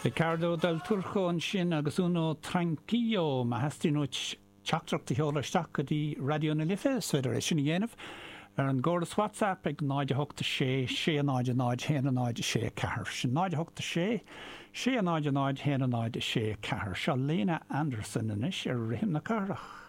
Riccardo Del Turco ansin agus Uno Tranquillo. Má theastaíonn uait teachtaireacht a sheoladh isteach go dtí Raidió na Life, is féidir é sin a dhéanamh ar an gcóras WhatsApp ag 0 8 6 6 0 0 1 0 6 4. Sin 0 8 6 6 0 0 1 0 6 4. Seo Lena Anderson anois ar Rithim na Cathrach.